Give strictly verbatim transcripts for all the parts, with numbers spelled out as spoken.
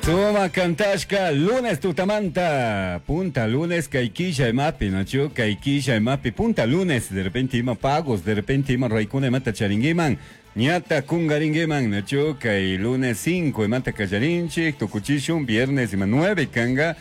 Suma kantashka lunes tutamanta punta lunes kay imapi nachu kay killa imapi punta lunes de repente ima pagos de repente ima raykuna imata charinguiman ñata kungaringuiman nachu kay lunes cinco imata kallarinchik tukuchishun viernes ima nueve kanga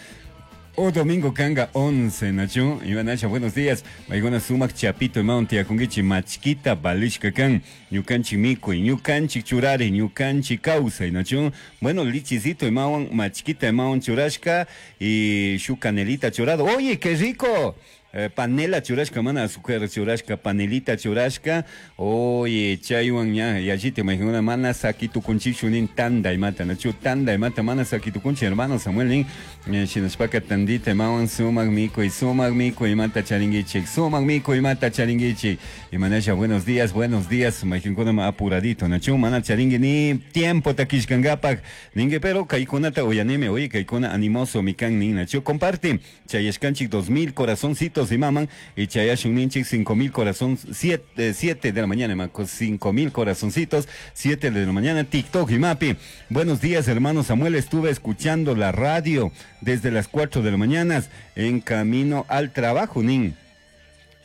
o domingo kanga once nachu imanasha buenos días maykuna sumak chapito imawan tiyakunkichik machkita valishka kan ñukanchik mikuy ñukanchik churari ñukanchik kawsay nachu bueno lichicito imawan machkita imawan churashka y shuk canelita churado. Oye, qué rico. Eh, panela churashka mana azúcar churashka panelita churashka. Oye, chaywan ña yallita maykuna mana sakitukunchikchu nin tanda imata nachu tanda imata mana sakitukunchik hermano Samuel nin eh, shinashpaka tandita imawan sumak mikuy sumak mikuy imata charinkichik sumak mikuy imata charinkichik imanasha buenos días, buenos días maykinkuna ma apuradito nachu mana charinki ni tiempo takishkankapak ninki pero kaykunata uyanimi. Oye, kaykuna animoso mikan nin nachu comparte chayashkanchik dos mil corazoncitos imaman y chayashun ninchik cinco mil corazón siete, siete de la mañana ima, cinco mil corazoncitos siete de la mañana TikTok imapi. Buenos días, hermano Samuel, estuve escuchando la radio desde las cuatro de la mañana en camino al trabajo nin.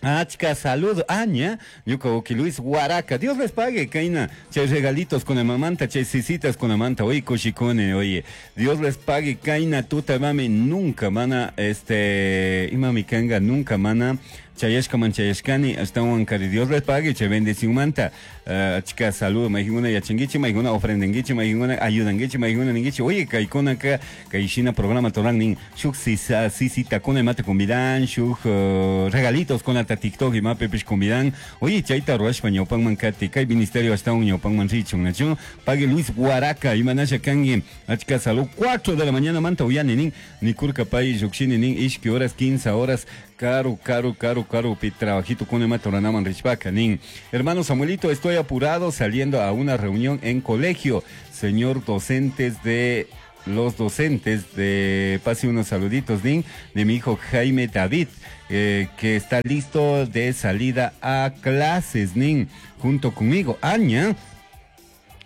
Achka saludo, Aña, ñuka uki Luis Huaraca, Dios les pague, Kaina, chay regalitos con la mamanta, chay sisitas con la manta, oye, kushikune, oye, Dios les pague, Kaina, tuta mami, nunca mana, este, imami kanga, nunca mana, chayashka man chayashkani, ashtawan kari, Dios les pague, chay bendición manta, uh, achka saludo, maijinguna yachanguichi, maijinguna ofrendenguichi, maijinguna ayudanguichi, maijinguna ninguichi, oye, kaikuna ka, kaishina programa toran nin, shuk sisa, sisita kuna imata convidan, shuk uh, regalitos con ata TikTok imapi pish convidan, oye, chayta ruashpa ñawpanman kati, kay ministerio ashtawan ñawpanman richun, nachu, pague Luis Huaraca, imanasha kangi, achka salud, cuatro de la mañana manta uyani nin, nikurka pay llukshini nin, ishki horas, quince horas, caro, caro, caro, caro, pi trabajito con imata uranaman richpaka nin. Hermano Samuelito, estoy apurado saliendo a una reunión en colegio. Señor docentes de los docentes de pase unos saluditos, nin, de mi hijo Jaime David, eh, que está listo de salida a clases, nin, junto conmigo. Aña.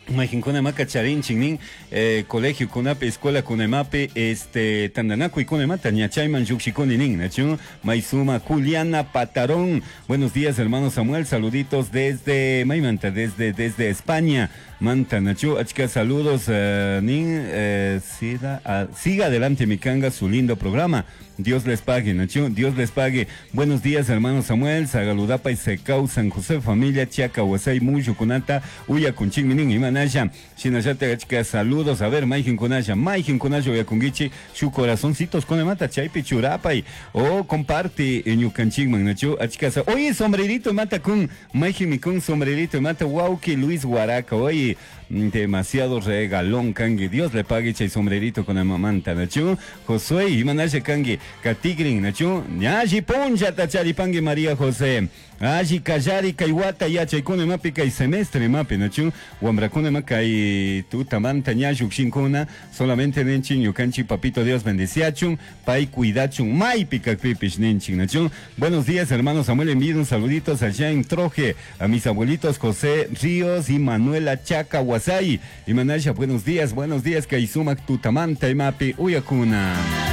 Mayqinkuna maka charinchik nin eh, colegio kunapi escuela kunemapi este tandanakuy kunemata ñachayman lluqshikuni nin nachu maysuma Juliana Patarón. Buenos días, hermano Samuel, saluditos desde maymanta desde desde España manta nachu achka saludos eh, nin eh, siga, ah, siga adelante mi kanga su lindo programa. Dios les pague, nachu, Dios les pague. Buenos días, hermano Samuel, Sagaludapa y Secau, San José, familia, Chiaca, Huasay, Muyo, Kunata, Uya, Kunching, Minin, Imanasha, Shinashate, achka, saludos, a ver, Maijin Kunasha, Maijin Kunasha, Uya Kungichi, su corazoncitos, Konemata, Chaypi, Churapay, o comparte, Ñukanchingman, nachu, achka, oye, sombrerito, mata kun, Maijin, mi kun, sombrerito, mata, wauki, Luis Huaraca, oye, demasiado regalón, kangi, Dios le pague, chay sombrerito con la mamanta, nachu, Josué, Imanasha, kangi, katigrin, nachu, ñashi puncha, tacharipangi, María José, Ashi kallari kaiwata yachaykuna imapi kay semestre imapi nachu wambrakuna ima kay tutamanta ña llukshinkuna solamente ninchik ñukanchik papito Dios bendeciachun pay cuidachun maypi kakpipish ninchik nachu. Buenos días, hermano Samuel, envío unos saluditos allá en Troje a mis abuelitos José Ríos y Manuela Chaca Huasay y Manasha, buenos días, buenos días kay sumak tutamanta imapi uyakuna.